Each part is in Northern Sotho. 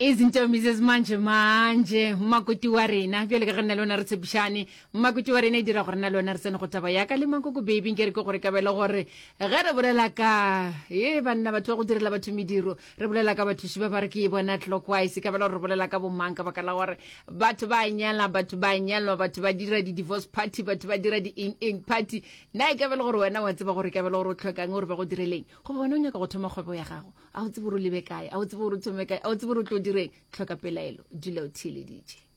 Izinto manje manje makoti wa rena bjale ka ge nna le wena re tshepišane makoti wa rena e dira gore nna le wena re tsene go taba ya ka le makoko baby nke re ke gore kabelo gore ge re bolela ka e banna batho ba go direla batho mediro re bolela ka bathuši ba ba re ke e bona clockwise ka bela gore re bolela ka bomang ka baka la gore batho ba nyala batho ba nyalwa batho ba dira di-divorce party batho ba dira di-eng eng party na e ka bela gore wena wa tseba gore ka bela gore o tlhokang gore ba go direleng goba wena o nyaka go thoma kgwebo ya gago A o tsebe gore o lebe kae? A o tsebe gore o thome kae? A o tsebe gore o tlo direng? Tlhoka pelaelo, dula o theeleditše.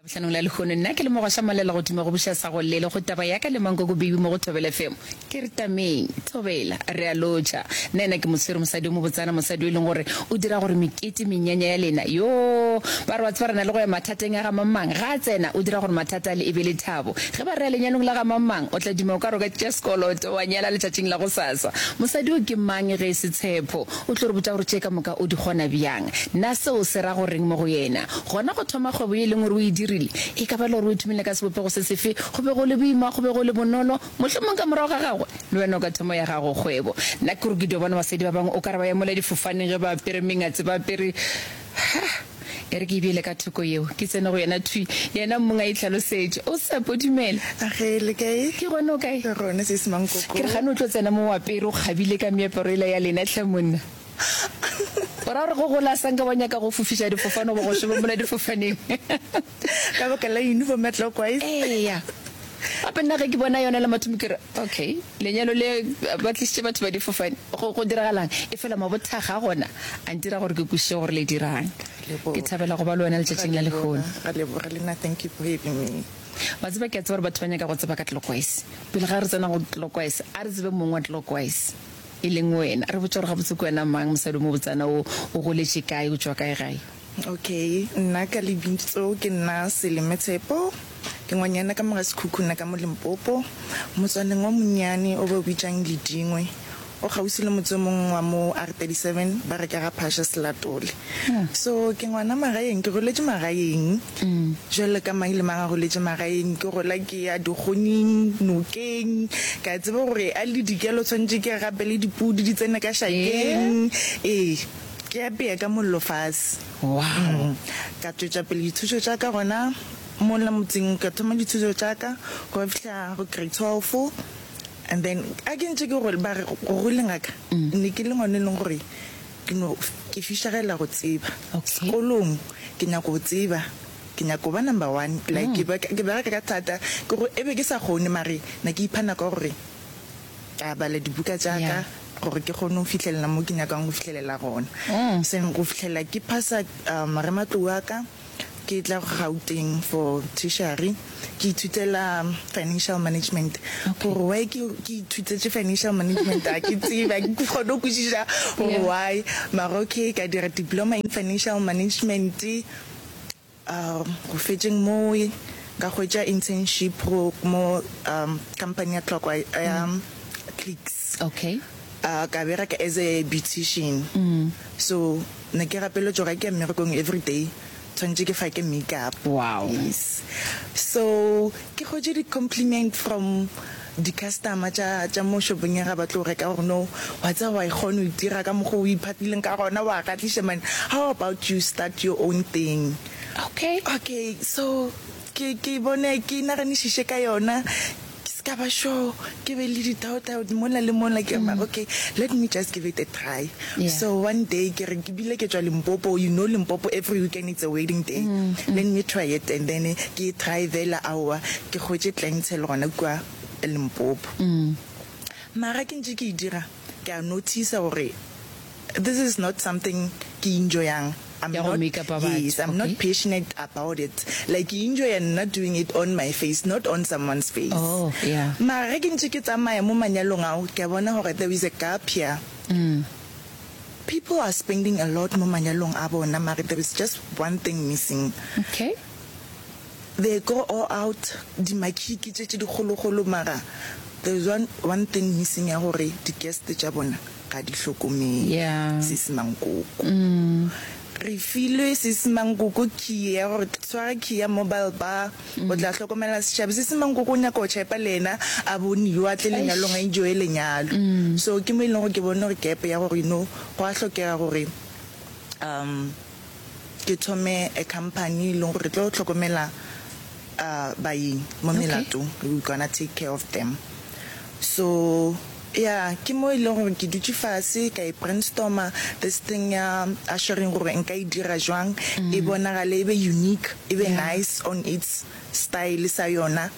Labohlanong la lehono nna ke le Mogwaša Malela go thoma go buša sa go llele go taba ya ka le Mankoko Baby mo go Thobela FM. Ke re tameng, Thobela, re a lotšha. Nna ena ke moswere mosadi o mobotsana, mosadi o e leng gore o dira gore mekete, menyanya ya lena, yoo, ba re wa tseba re na le go ya mathateng a ga mang-mang, ga a tsena o dira gore mathata ale e be lethabo. Ge ba re ya lenyalong la ga mang-mang, o tla duma o ka re o ka tšea sekoloto wa nyala letšatšing la gosasa. Mosadi yo ke mang ge e se Tshepo? O tlo re botša gore tše ka moka o di kgona bjang. Na seo se ra go reng mo go yena? Gona go thoma kgwebo ye e leng gore o e dirile, e ka ba le gore o e thomile ka sebopego se sefe, go be go le boima, go be go le bonolo? Mohlomong ka morago ga gagwe, le wena o ka thoma ya gago kgwebo. Nna ke gore ke dio bona basadi ba bangwe o ka re ba ya mola difofaneng ge ba apere mengatse, ba apere. Ha! E re ke e beele ka thoko yeo, ke tsene go yena thwi. Yena mong a itlhalosetše. O Tshepo, dumela. Age, le kae? Ke gona, o kae? Re gona, Sesi Mankoko. Ke re gane o tlo tsena mo o apere, o kgabile ka meaparo yela ya lena hle monna. O ra gore go gola sa nka wa nyaka go fofiša difofane goba go šoma mola difofaneng? Ka baka la uniform ya Clockwise? Eya. Gape nna ge ke bona yona la mathomo ke re, okay, lenyalo le ba tlišitše batho ba difofane, go, go diragalang? Efela mabothakga a gona a ntira gore ke kwešiše gore le dirang. Ke thabela go ba le wena letšatšing la lehono. Ra leboga le nna, thank you for having me. Wa tseba, ke a tseba gore batho ba nyaka go tseba ka Clockwise. Pele ga re tsena go Clockwise, a re tsebe mong wa Clockwise, e leng wena. Re botše gore gabotse ke wena mang, mosadi o mobotsana o, o goletše kae, o tšwa kae gae? Okay, nna ka lebitso ke nna Seleme Tshepo, ke ngwanyana ka mo ga Sekhukhune ka mo Limpopo, motswaneng o monnyane o ba o bitšang Ledingwe, o kgauswi le motse o mongwe wa mo R37 ba re ke ga Phasha Selatole. So ke ngwana magaeng, ke goletše magaeng jwalo ka mang le mang a goletše magaeng, ke gola ke ya dikgonyeng, nokeng, ka tseba gore a le dikelo tshwanetše ke gapele dipudi di tsene ka šakeng, ee. Ke apea ka mollo fase. Wow. Ka tšwetša pele dithuto tša ka gona mola motseng, ka thoma dithuto tša ka go fihla go grade 12 and then a ke ntše ke gola, ba re go goleng ga ka ne ke le ngwana e leng gore ke no ke fišegela go tseba. Sekolong ke nyako go tseba, ke nyako ba number one, like ke ke bereka ka thata, ke go e be ke sa kgone mare ne ke ipha nako ya gore Ka bala dibuka tša ka gore ke kgone go fihlelela mo ke nyakang go fihlelela gona. Seng go fihlela ke phasa marematlou a ka, ke tla Gauteng for tertiary, ke ithutela financial management. Gore why ke ke ithutetše financial management ga ke tsebe, ga ke kgone go kwešiša gore why. Mara okay, ka dira diploma in financial management. Go fetšeng moo ka hwetša internship go mo company ya Tlokwa ya Clicks. Okay. Ka bereka as a beautician. So ne ke gapeletšwa gore ke ya mmerekong everyday tshwanetše ke fake makeup. Wow. Yes. So ke hwetše di compliment from di customer tša tša mo shopong ya ga ba tlo reka gore no wa tseba wa e kgona o itira ka mokgwa o iphatileng ka gona wa kgahliša man how about you start your own thing. Okay. Okay so ke ke bone ke naganišiše ka yona ke se ka ba sure ke be le di doubt doubt mola le mola ke re mara okay let me just give it a try. Yeah. So one day ke re ke bile ke tšwa Limpopo you know Limpopo every weekend it's a wedding day let me try it and then ke e try fela aowa ke hwetše clientele gona kua Limpopo. Mara ke ntše ke e dira ke a noticer gore this is not something ke e enjoyang. I'm Ya go not, make-upa batho, yes, I'm not okay. passionate about it. Like ke enjoya nna doing it on my face, not on someone's face. Oh, yeah. Mara ge ke ntše ke tsamaya mo manyalong ao, ke a bona gore there is a gap here. People are spending a lot mo manyalong a bona, mara there is just one thing missing. Okay. They go all out, dimakhiki tše tše dikgolokgolo, mara there is one, one thing missing ya gore di guest tša bona ga di hlokomele Yeah. Sisi Mankoko. Re filwe Sisi Mankoko key ya gore tshwara key ya mobile bar, o tla hlokomela setšhaba. Sisi Mankoko o nyaka go tšhepa le yena a boniwe, a tle lenyalong a enjoye lenyalo. So ke mo e leng gore ke bone gore gap ya gore you know go a hlokega gore. Um ke thome a company e leng gore tlo hlokomela uh baeng mo melatong, we gonna take care of them. So yeah, ke mo e leng gore ke dutše fase ka e brainstormer this thing ya ushering gore nka e dira jwang e bonagale e be unique, e be nice on its style sa yona.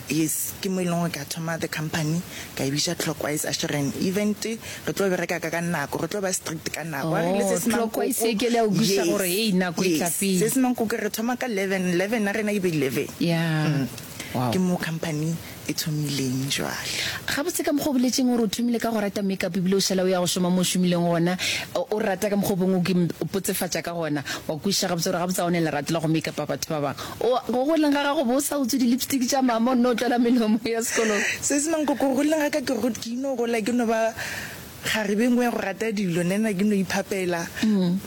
Yes, ke mo e leng gore ka thoma the company ka e bitša Clockwise Ushering Event. Re tlo bereka ka ka nako, re tlo ba strict ka nako. A re le Oh, se se Clockwise mankoko. e ke le ya go kwešiša Yes, gore hei nako e tla yes. pele. Se se mankoko re thoma ka 11, 11 ya rena e be 11. Yeah. Wow. Ke mo company e thomileng jwale. Gabotse ka mokgwa o boletšeng gore o thomile ka go rata makeup ebile o šala o ya go šoma mo o šomileng gona, o rata ka mokgwa o bongwe o ke o potsefatša ka gona, wa kwešiša gabotse gore gabotse ga o ne lerato la go makeupa batho ba bangwe. O, go goleng ga gago bo o sa utswe di-lipstick tša mama o nno tlola melomo ya sekolong? Sesi Mankoko, go goleng ga ka ke ke ino gola ke no ba kgarebe nngwe ya go rata dilo, nna ke no iphapela.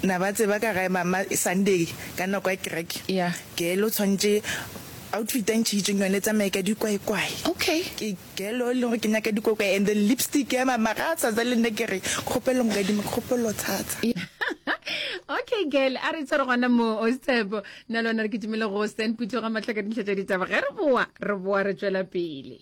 Na ba tseba ka gae mama Sunday ka nako ya kereke, Yeah. girl o tshwanetše outfit a ntšhitšeng yone e tsamaye ka dikwaikwai. Okay. Ke girl o e leng gore ke nyaka dikwaikwai and then lipstick ya mama ga a tshasa le nna ke re kgopelo nkadime kgopelo tshasa. Okay girl, a re tshware gona mo o Tshepo. Nna le wena re kitimele go Stan Putho ga Mahlaka dintlha tša ditaba. Ge re boa, re boa re tšwela pele.